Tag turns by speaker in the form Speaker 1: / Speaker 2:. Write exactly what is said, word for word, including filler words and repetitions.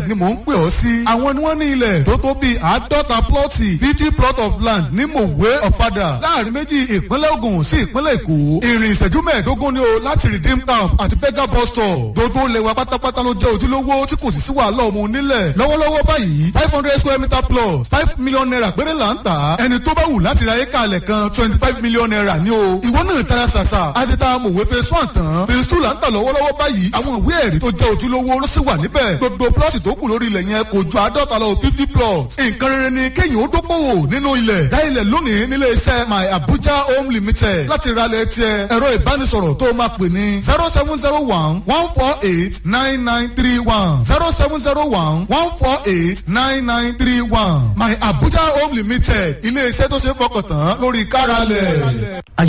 Speaker 1: ni mò ń pè ọ́ sí. Àwọn ni wọ́n ní ilẹ̀ tó tó bíi àádọ́ta plọ́ọ̀tì, fifty plot of land ní Mòwe, Ọ̀fadà, láàrin méjì ìpínlẹ̀ Ògùn sí ìpínlẹ̀ Èkó. Ìrìn ìṣẹ́jú mẹ́ẹ̀ẹ́dógún ni o láti Redeem Camp àti Fega bus stop. Gbogbo ilẹ̀ wa pátápátá ló jẹ́ ojúlówó tí kò sì sí wàhálà ọmọ onílẹ̀. Lọ́wọ́lọ́wọ́ báyìí, five hundred square meter plus five million naira péré là ń tà á. Ẹni tó bá wù láti ra éka alẹ̀ kan, twenty five million naira ní o. Ìwọ náà tara ṣàṣà, àti ta Mòwe phase one tán, phase two là ń tà lọ́wọ́lọ́wọ́ báyìí. Àwọn ìwé ẹ̀rí tó jẹ́ ojúlówó ló sì wà níbẹ̀. Gbogbo plọ́ọ̀tì tó kù lórí ilẹ̀ yẹn kò ju àádọ́ta lọ, fifty plots. Nǹkan rere ni kéèyàn ó dókòwò nínú ilẹ̀. Dá ilẹ̀ lónìí nílé iṣẹ́ My Abuja Home Limited láti ralẹ̀ tiẹ̀. Ẹ̀rọ ìbánisọ̀rọ̀ tó máa pè ní zero seven zero one one four eight nine nine three one, zero seven zero one one four eight nine nine three one. My Abuja Home Limited, ilé iṣẹ́ tó ṣe é fọkàn tán lórí káralẹ̀.